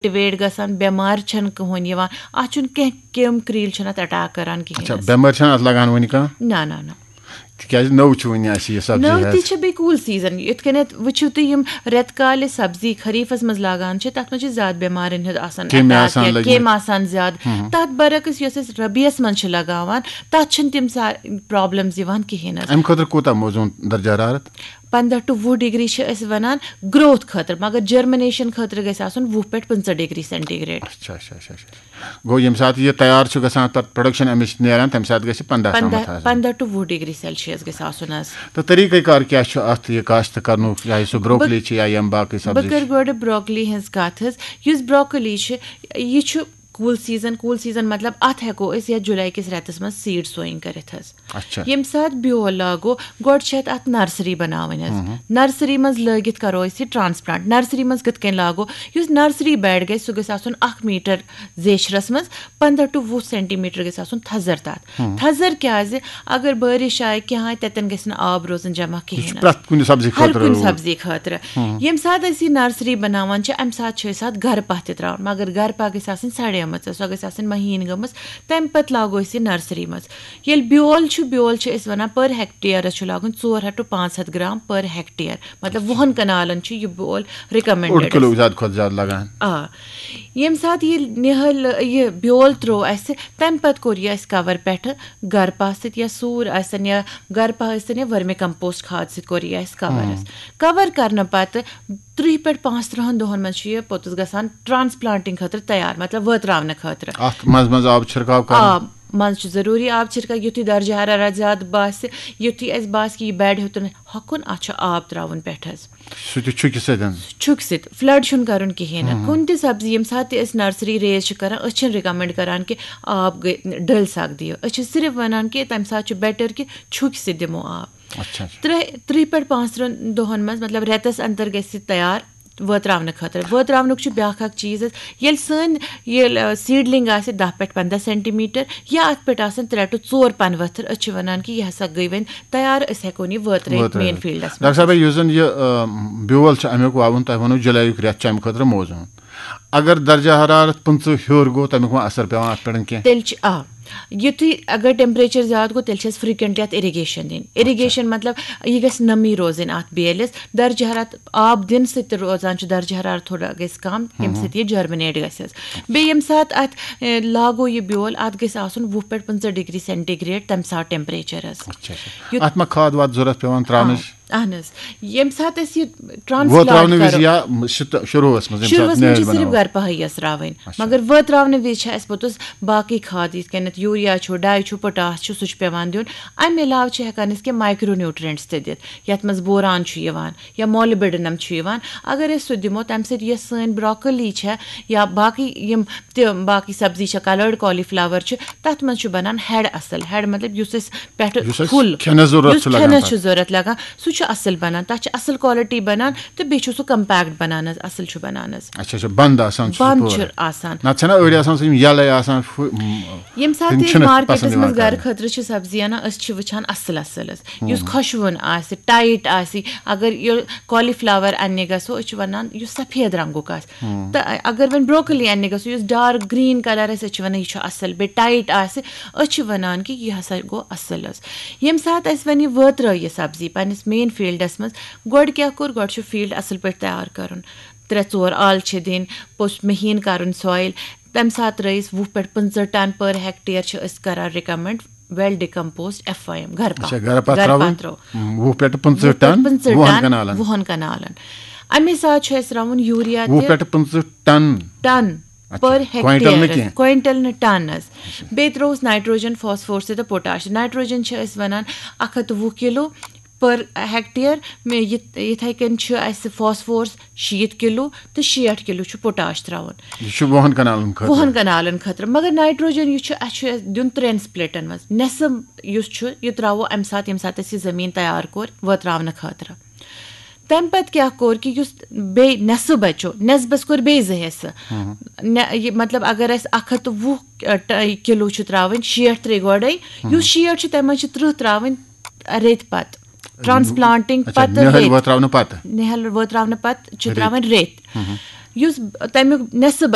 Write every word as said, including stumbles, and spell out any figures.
Activate گژھان، بٮ۪مارِ چھَنہٕ کٕہٕنۍ یِوان، اَتھ چھُنہٕ کینٛہہ، کیٚم کریٖل چھَنہٕ اَتھ اٹیک کران کِہیٖنۍ اچھا، حظ۔ بٮ۪مٲرۍ چھَنہٕ اَتھ لگان وٕنہِ کانٛہہ؟ نہ نہ نہ۔ تِکیٛازِ نٔو چھِ وٕنہِ اَسہِ یہِ سبزی نٔو ہٮ۪تھ۔ تہِ چھِ بیٚیہِ کوٗل سیٖزن، یِتھ کٔنٮ۪تھ وٕچھِو تُہۍ، یِم رٮ۪تہٕ کالہِ سبزی خریٖفَس منٛز لاگان چھِ، تَتھ منٛز چھِ زیادٕ بٮ۪مارٮ۪ن ہُنٛد آسان کیٚمۍ اٹیک آسان یا لٔگمٕتۍ۔ کیٚمۍ آسان زیادٕ۔ تَتھ برعکس یۄس أسۍ ربیعس منٛز چھِ لگاوان، تَتھ چھِنہٕ تِم سا پرابلمز یِوان کِہیٖنۍ حظ۔ اَمہِ خٲطرٕ کوٗتاہ موزوٗن درجہ حرارت؟ پنٛداہ ٹُو وُہ ڈگری چھِ أسۍ وَنان گروتھ خٲطرٕ، مگر جرمنیشن خٲطرٕ گژھِ آسُن وُہ پٮ۪ٹھ پٕنٛژٕہ ڈگری سینٹی گریڈ۔ اچھا اچھا اچھا اچھا۔ گوٚو ییٚمہِ ساتہٕ یہِ تیار چھُ گژھان، تَتھ پروڈکشن اَمِچ نیران، تَمہِ ساتہٕ گژھِ پنٛداہ تامَتھ پنٛداہ آسٕنۍ۔ پنٛداہ ٹُو وُہ ڈگری سیلسیس گژھِ آسُن حظ۔ تہٕ طریٖقہٕ کار کیٛاہ چھُ اَتھ یہِ کاشت کرنُک، چاہے سُہ بروکلی چھِ یا یِم باقٕے بہٕ سبزی کَرٕ چھِ؟ گۄڈٕ بروکلی ہٕنٛز کَتھ حظ۔ یُس بروکلی چھِ، یہِ چھُ کوٗل سیٖزن، کوٗل سیٖزن مطلب اَتھ ہٮ۪کو أسۍ یَتھ جُلای کِس رٮ۪تَس منٛز سیٖڈ سویِنگ کٔرِتھ حظ۔ اچھا۔ ییٚمہِ ساتہٕ بیول لاگو، گۄڈٕ چھِ اَتھ اَتھ نرسری بَناوٕنۍ حظ۔ نرسری منٛز لٲگِتھ کَرو أسۍ یہِ ٹرانسپلانٹ۔ نرسری منٛز کِتھ کٔنۍ لاگو؟ یُس نرسری بیڈ گژھِ، سُہ گژھِ آسُن اَکھ میٖٹر زیچھرَس منٛز، پنٛداہ ٹُو وُہ سینٹی میٖٹر گژھِ آسُن تھزر تَتھ۔ تھزر کیٛازِ؟ اگر بٲرِش آیہِ کینٛہہ آیہِ، تَتٮ۪ن گژھِ نہٕ آب روزُن جمع یہِ چھُ کِہیٖنۍ نہٕ۔ پرٛٮ۪تھ کُنہِ سبزی ہر خٲطرٕ کُنہِ روٗد۔ سبزی خٲطرٕ۔ ییٚمہِ ساتہٕ أسۍ یہِ نرسری بَناوان چھِ، اَمہِ ساتہٕ چھِ أسۍ اَتھ گرٕ پاہ تہِ ترٛاوان، مگر گرٕ پاہ گژھِ آسٕنۍ سڑیمٕژ، سۄ گژھِ آسٕنۍ مہیٖن گٔمٕژ، تَمہِ پَتہٕ لاگو أسۍ یہِ نرسری منٛز۔ ییٚلہِ بیول چھُ، بیول چھِ أسۍ وَنان، پر ہیکٹیرَس چھُ لاگُن ژور ہَتھ ٹُو پانٛژھ ہَتھ گرام پر ہیکٹیر، مطلب وُہَن کنالَن چھُ یہِ بیول اوٚڑ رِکمنڈڈ۔ کِلوٗ زیادٕ کھۄتہٕ زیادٕ لگان۔ آ، ییٚمہِ ساتہٕ یہِ نِہٲلۍ یہِ بیول ترٛوو اَسہِ، تَمہِ پَتہٕ کوٚر یہِ اَسہِ کَور پٮ۪ٹھٕ گرٕ پاہ سۭتۍ یا سوٗر ٲسِن یا گرٕ پاہ ٲسِن یا ؤرمہِ کمپوسٹ کھاد سۭتۍ کوٚر یہِ اَسہِ کَور حظ۔ کَور کرنہٕ پَتہٕ ترٕٛہ پٮ۪ٹھ پانٛژھ تٕرٛہَن دۄہَن منٛز چھُ یہِ پوٚتُس گژھان ٹرانسپلانٹنگ خٲطرٕ تیار، مطلب وٲتراونہٕ خٲطرٕ۔ اَتھ منٛز منٛز آب چھِرکاو کرُن۔ آ، منٛز چھُ ضروٗری آب چھِرکاو، یُتھُے درجہ حرارت زیادٕ باسہِ، یُتھُے اَسہِ باسہِ کہِ یہِ بیڈ ہیوٚتُن ہۄکھُن، اَتھ چھُ آب ترٛاوُن پٮ۪ٹھ حظ۔ سُہ تہِ چھُکہِ سۭتۍ۔ چھُکھ سۭتۍ فلڈ چھُنہٕ کرُن کِہیٖنۍ نہٕ۔ کُنہِ تہِ سبزی، ییٚمہِ ساتہٕ تہِ أسۍ نرسری ریز چھِ کران، أسۍ چھِنہٕ رِکمنڈ کران کہِ آب گٔے ڈٔلۍ سَگ دِیِو۔ أسۍ چھِ صرف وَنان کہِ تَمہِ ساتہٕ چھُ بیٹر کہِ چھُکۍ سۭتۍ دِمو آب۔ اچھا اچھا۔ ترٛےٚ ترٛہ پٮ۪ٹھ پانٛژھ تٕرٛہَن دۄہَن منٛز، مطلب رٮ۪تَس اندر گژھِ یہِ تیار وٲتراونہٕ خٲطرٕ۔ وٲتراونُک چھُ بیٛاکھ اکھ چیٖز حظ، ییٚلہِ سٲنۍ ییٚلہِ سیٖڈلِنگ آسہِ دَہ پٮ۪ٹھ پنٛداہ سینٹی میٖٹر یا اَتھ پٮ۪ٹھ آسَن ترٛےٚ ٹُو ژور پَنہٕ ؤتھٕر، أسۍ چھِ وَنان کہِ یہِ ہسا گٔے وۄنۍ تیار، أسۍ ہٮ۪کون یہِ وٲترٲیِتھ وٲترٲیِتھ۔ مین فیٖلڈَس ڈاکٹر منٛز۔ صٲب، یُس زَن یہِ آ، بیول چھُ، اَمیُک وَوُن تۄہہِ ووٚنوُ جُلایُک رٮ۪تھ چھُ اَمہِ خٲطرٕ موزوٗن۔ اگر درجہ حرارت پٕنٛژٕہ ہیوٚر گوٚو، تَمیُک ما اثر پٮ۪وان اَتھ پٮ۪ٹھ کینٛہہ؟ تیٚلہِ چھِ آ، یُتھُے اگر ٹیمپریچر زیادٕ گوٚو، تیٚلہِ چھِ اَسہِ فریکوینٹلی اَتھ اِریگیشن دِنۍ۔ اِریگیشن مطلب یہِ گژھِ نمی روزٕنۍ اَتھ بیلِس۔ درجہ حرارت آب دِنہٕ سۭتۍ تہِ روزان چھُ درجہ حرارت تھوڑا گژھِ کم، ییٚمہِ سۭتۍ یہِ جرمنیٹ گژھِ حظ۔ بیٚیہِ ییٚمہِ ساتہٕ اَتھ اے، لاگو یہِ بیول، اَتھ گژھِ آسُن وُہ پٮ۪ٹھ پٕنٛژٕہ ڈگری سینٹی گریڈ تَمہِ ساتہٕ ٹیمپریچر حظ۔ اچھا اچھا۔ یُتھ- اَتھ ما کھاد واد ضوٚرتھ پٮ۪وان ترٛاونٕچ؟ اہن حظ، ییٚمہِ ساتہٕ أسۍ یہِ وۄتراونہٕ ٹرانسپلانٹ وِزِ کرو، یا شروٗعس منٛز، ییٚمہِ شروٗعس ساتہٕ منٛز چھِ نیٲلۍ صرف بناوان۔ گرٕ پہٲیی یَس ترٛاوٕنۍ۔ مگر وٲتراونہٕ وِزِ چھِ اَسہِ پوٚتُس باقٕے کھاد، یِتھ کٔنٮ۪تھ یوٗریا چھُ، ڈاے چھُ، پوٹاش چھُ، سُہ چھُ پٮ۪وان دیُن۔ اَمہِ علاوٕ چھِ ہٮ۪کان أسۍ کینٛہہ مایکرو نیوٗٹرینٹس تہِ دِتھ، یَتھ منٛز بوران چھُ یِوان یا مولبڈنم چھُ یِوان۔ اگر أسۍ سُہ دِمو، تَمہِ سۭتۍ یۄس سٲنۍ بروکلی چھےٚ یا باقٕے یِم تہِ باقٕے سبزی چھےٚ، کلٲرڈ کالی فلاور چھُ، تَتھ منٛز چھُ بَنان ہیڈ اَصٕل۔ ہیڈ مطلب یُس اَسہِ پٮ۪ٹھٕ یُس اَسہِ پھُل، کھٮ۪نَس ضروٗرت یُس چھُ لگان کھٮ۪نَس پَتہٕ۔ چھُ ضوٚرَتھ لگان، سُہ چھُ اَصٕل بَنان، تَتھ چھِ اَصٕل کالٹی بَنان تہٕ بیٚیہِ چھُ سُہ کمپیکٹ بَنان حظ، اَصٕل چھُ بَنان حظ۔ اچھا اچھا، بنٛد آسان چھُ سُہ بنٛد پوٗرٕ۔ چھُ آسان۔ نتہٕ چھَنہ أڑۍ آسان سُہ یِم یَلَے آسان، فُ-، م-، ییٚمہِ ساتہٕ تِم تہِ أسۍ چھِنہٕ مارکیٹَس پسنٛد منٛز یِوان گرٕ کرنہٕ۔ خٲطرٕ چھِ سبزی اَنان، أسۍ چھِ وٕچھان اَصٕل اَصٕل حظ، یُس خۄشوُن آسہِ، ٹایٹ آسہِ۔ اگر یہِ کالی فلاور اَننہِ گژھو، أسۍ چھِ وَنان یُس سفید رنٛگُک آسہِ۔ تہٕ اگر وۄنۍ بروکلی اَننہِ گژھو، یُس ڈارک گرین کلر آسہِ، أسۍ چھِ وَنان یہِ چھُ اَصٕل، بیٚیہِ ٹایٹ آسہِ، أسۍ چھِ وَنان کہِ یہِ ہسا گوٚو اَصٕل حظ۔ ییٚمہِ ساتہٕ اَسہِ وۄنۍ یہِ وٲترٲو یہِ سبزی پنٛنِس مین فیٖلڈَس منٛز، گۄڈٕ کیٛاہ کوٚر؟ گۄڈٕ چھُ فیٖلڈ اَصٕل پٲٹھۍ تیار کَرُن، ترٛےٚ ژور آل چھِ دِنۍ، پوٚتُس مہیٖن کَرُن سویِل۔ تَمہِ ساتہٕ ترٛٲیِس وُہ پٮ۪ٹھ پٕنٛژٕہ ٹن پر ہیکٹیر چھِ أسۍ کران recommend well decomposed F I M گرٕ پتھ۔ اچھا، گرٕ پتہٕ ترٛاوٕنۍ۔ ترٛاو۔ وُہ پٮ۪ٹھ پٕنٛژٕہ ٹن، پٕنٛژٕہ وُہن ٹن، کنالن۔ وُہن کنالن۔ امی ساتہٕ چھُ اَسہِ ترٛاوُن یوٗریا وُہ تہِ۔ پٮ۪ٹھ پٕنٛژٕہ ٹن۔ ٹن اچھا، پر کوینٹل نہٕ ہیکٹیرس، کینٛہہ۔ کوینٹل نہٕ ٹن حظ۔ بیٚیہِ ترٛووُس نائٹروجن، فاسفورس تہٕ پوٹاش۔ نائٹروجن چھِ أسۍ وَنان اَکھ ہَتھ تہٕ وُہ کِلوٗ پر ہیکٹیر۔ مےٚ یِتھ-، یِتھَے کٔنۍ چھُ اَسہِ فاسفورس شیٖتھ کِلوٗ تہٕ شیٹھ کِلوٗ چھُ پوٹاش ترٛاوُن۔ یہِ چھُ وُہن کنالن خٲطرٕ۔ وُہن کنالن خٲطرٕ۔ مگر نائٹروجن یُس چھُ، اَسہِ چھُ اَسہِ دیُن ترٛٮ۪ن سپلٹن منٛز۔ نٮ۪صٕف یُس چھُ، یہِ ترٛاوو اَمہِ ساتہٕ، ییٚمہِ ساتہٕ اَسہِ یہِ زٔمیٖن تیار کوٚر وٲتراونہٕ خٲطرٕ۔ تَمہِ پَتہٕ کیٛاہ کوٚر کہِ یُس بیٚیہِ نٮ۪صٕف بَچو، نٮ۪صبَس کوٚر بیٚیہِ زٕ حِصہٕ۔ نہ، یہِ مطلب، اگر اَسہِ اَکھ ہَتھ تہٕ وُہ، ٲ، ٹ-، کِلوٗ چھُ ترٛاوٕنۍ، شیٹھ ترٛے گۄڈَے، یُس شیٹھ چھُ، تَمہِ منٛز چھِ ترٕٛہ ترٛاوٕنۍ ریٚتۍ پَتہٕ، ٹرانسپلانٹنگ اچھا، پَتہٕ نِہٲلۍ ریٚتۍ۔ وٲتراونہٕ پتہٕ۔ نِہٲلۍ وٲتراونہٕ پَتہٕ چھِ ریٚتۍ۔ ترٛاوٕنۍ ریٚتۍ۔ یُس تَمیُک نٮ۪صٕف